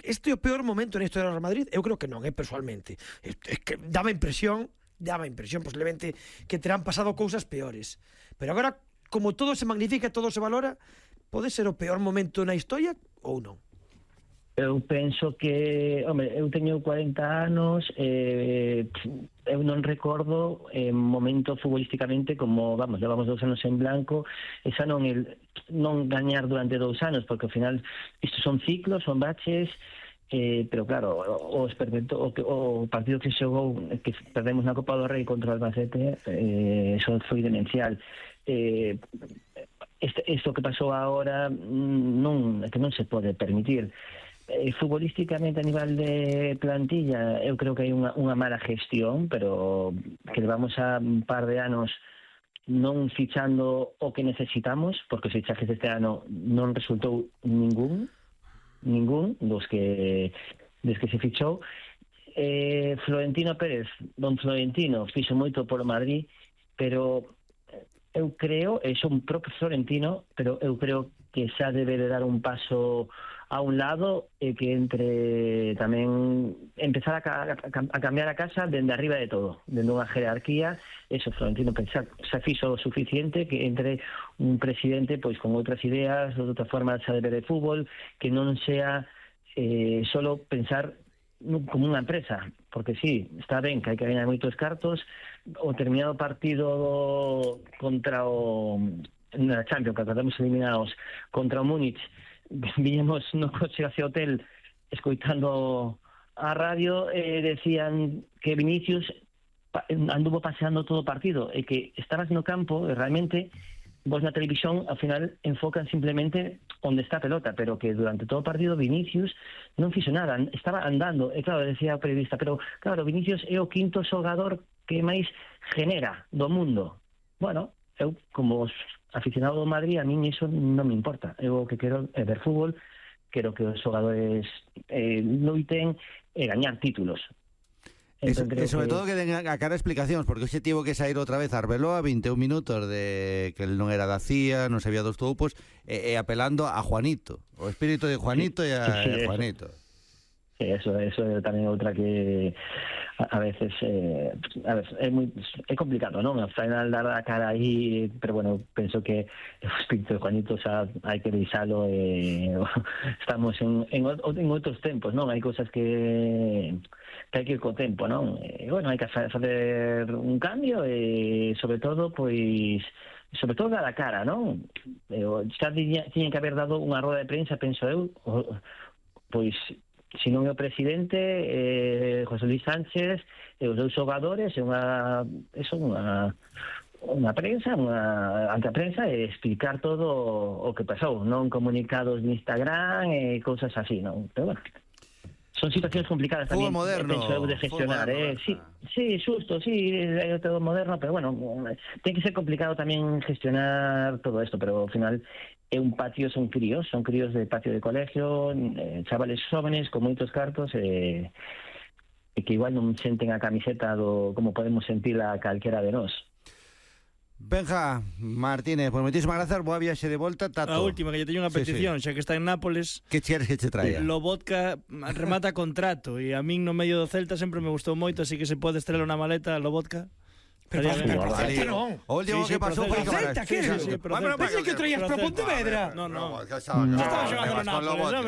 este é o peor momento na historia do Real Madrid? Eu creo que non, personalmente. É que daba impresión posiblemente que terán pasado cousas peores. Pero agora, como todo se magnifica, todo se valora, pode ser o peor momento na historia ou non? Eu penso que, home, eu teño 40 anos, eu non recordo momento futbolísticamente como, vamos, levamos 2 anos en blanco, esa non gañar durante 2 anos, porque ao final isto son ciclos, son baches, pero claro, o partido que xogou, que perdemos na Copa do Rei contra o Albacete, eso foi demencial. Isto que pasou agora que non se pode permitir. Futbolísticamente a nivel de plantilla eu creo que hai unha mala gestión, pero que levamos a un par de anos non fichando o que necesitamos, porque os fichajes deste ano non resultou ningún dos que se fichou. Florentino Pérez, don Florentino, fixo moito polo Madrid, pero eu creo, son propio Florentino, pero eu creo que xa debe de dar un paso a un lado e que entre tamén empezar a cambiar a casa dende arriba de todo, dende unha jerarquía. Eso, Florentino xa fixo o suficiente, que entre un presidente pois con outras ideas, outra forma de ver de fútbol, que non sea solo pensar como unha empresa, porque sí, está ben que hai que gañar moitos cartos. O terminado partido contra na Champions, que acabamos eliminados contra o Múnich, viñemos no coche hacia o hotel escoitando a radio, decían que Vinicius anduvo paseando todo o partido e que estabas no campo e realmente vos na televisión ao final enfocan simplemente onde está a pelota, pero que durante todo o partido Vinicius non fixo nada, estaba andando. E claro, decía o periodista, pero claro, Vinicius é o quinto xogador que máis genera do mundo. Bueno, eu como aficionado do Madrid, a min iso non me importa. Eu o que quero é ver fútbol, quero que os xogadores loiten e gañar títulos. E sobre todo que den a cara explicacións, porque hoxe tivo que sair outra vez Arbeloa 21 minutos de que el non era da CIA, non sabía dos toupos, e apelando a Juanito, o espírito de Juanito e a Juanito. Sí, eso é tamén outra que a veces é complicado, non? Ao final dar a cara aí, pero bueno, penso que o espírito de Juanito xa hai que deixalo, estamos en outros tempos, non? Hai cousas que hai que ir co tempo, non? Bueno, hai que facer un cambio e sobre todo dar a cara, non? Xa tiñen que haber dado unha roda de prensa, penso eu, pois se non é o presidente, José Luis Sánchez e os dous xogadores, unha prensa, ante a prensa, e explicar todo o que pasou, non comunicados de Instagram e cousas así, non? Pero bueno, son situacións complicadas tamén, penso eu, de gestionar. Sí, xusto, sí, é todo moderno, pero bueno, ten que ser complicado tamén gestionar todo isto, pero ao final é un patio, son críos de patio de colegio, chavales jóvenes con moitos cartos, e que igual non senten a camiseta como podemos sentila calquera de nós. Benja Martínez, pues moitísimas grazas, boa viaxe de volta, Tato. A última, que lle teño unha petición, xa que está en Nápoles. Que queres que che traia? Lobotka remata contrato, e a min no medio do Celta sempre me gustou moito, así que se pode estrela na maleta Lobotka. Pero Celta non. O último que pasou foi que Celta, que é? Pensei que traías para Pontevedra. No. Estaba xogando no Nápoles.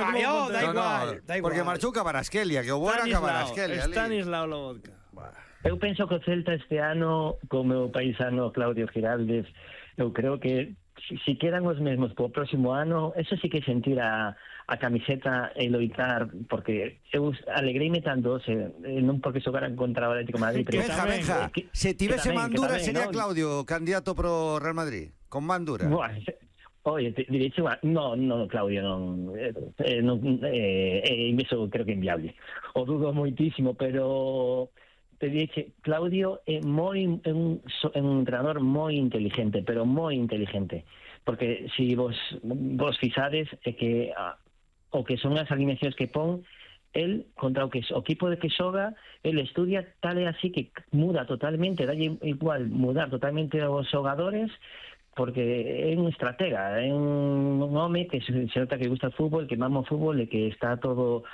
Da igual. Porque marchou Cabarasquelia, que o bo era Cabarasquelia. Stanislao Lobotka. Eu penso que o Celta este ano, co meu paisano Claudio Giraldez, eu creo que si quedan os mesmos po próximo ano, eso sí que sentir a camiseta e loitar, porque eu alegreime tanto, non porque xogaran contra o Atlético de Madrid, pero Benja, se tivese Mandura sería Claudio candidato pro Real Madrid, con Mandura. Oye, direche, no, Claudio, non, iso creo que é inviable. O dudo moitísimo, pero te dixe, Claudio é un entrenador moi inteligente, pero moi inteligente, porque se vos fixades é que o que son as alineacións que pon el contra o equipo de que xoga, el estudia tal e así que muda totalmente, dalle igual mudar totalmente os xogadores, porque é un estratega, é un home que se nota que gusta o fútbol, que mama o fútbol e que está todo